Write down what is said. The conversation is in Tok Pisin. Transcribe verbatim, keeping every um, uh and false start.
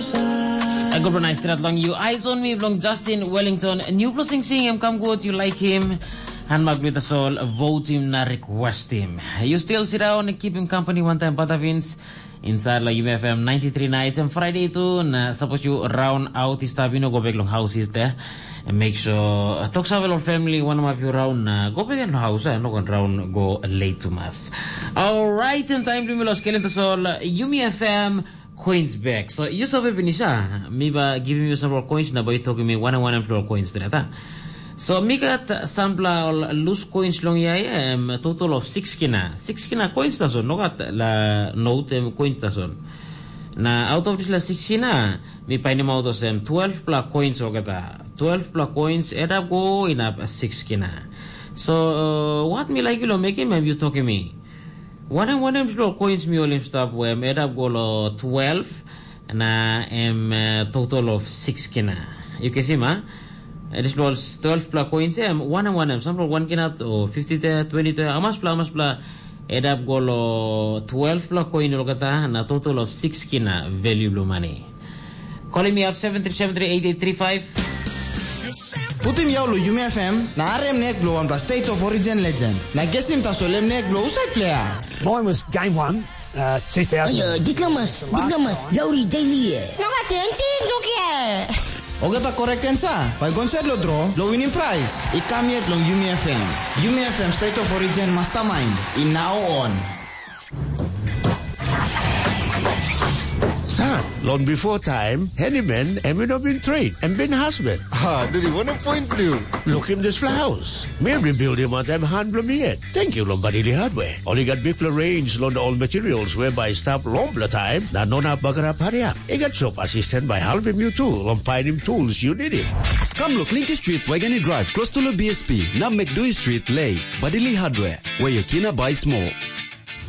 Good night, stret long you. Eyes on me, belong Justin Wellington. New blessing sing him, come good, you like him. And Magneta Soul, vote him na request him. You still sit down and keep him company one time, Patavins. Inside la U M F M ninety-three nights and Friday too. Na suppose you round out this tab, you know, go back long house is there. And make sure uh, talk sa long family one of you round uh, go back in house and not round go late to mass. All right, and time to me los kelen to sol uh, Yumi F M coins back. So you sabi Vinisa, me ba giving you several coins na ba you talking me one and one and coins that. So mi gat sampla ol loose coins long yai em total of six kina. Six kina coins tasol, no gat la note em coins tasol. Na out of this la six kina, mi painim out of them twelve pla coins olgeta. Twelve pla coins add up go inap six kina. So uh, what mi like lo mekim em you talking me. Wanem wanem lo coins mi olim stap wem add up go lo twelve na em uh, total of six kina. You can see ma. It is lo twelve pla coins em one and one em sample one kina to fifty te, twenty te, amas pla amas pla add up go lo twelve pla coin olgeta na total of six kina value lo money. Calling me up seven three seven three eight eight three five. Putim yau lo Yumi F M na arem nek blo wanpela State of Origin legend. Na gesim tasol em nek blo usai player. Mine was game one, uh, two thousand. Ayo, diplomas, diplomas, lauri daily eh. No gat enti, no kia. Ogata correct answer, bai gonset lo draw, lo winning prize. I kam yet long Yumi F M. Yumi F M State of Origin Mastermind, in now on. San, long before time, handyman em i no bin train, em bin husband. Ha, deri wana point blue. Look him this house. Mi bin build him on time hand blue mi yet. Thank you, long Badili Hardware. Only got big range long all materials whereby stop long the time, na no na bagarap hurry up. I got shop assistant by helping you too, long finding tools you need it. Come look Linky Street, Waigani Drive, close to the B S P. Now make Dewey Street, Lay. Badili Hardware, where your kina buy small.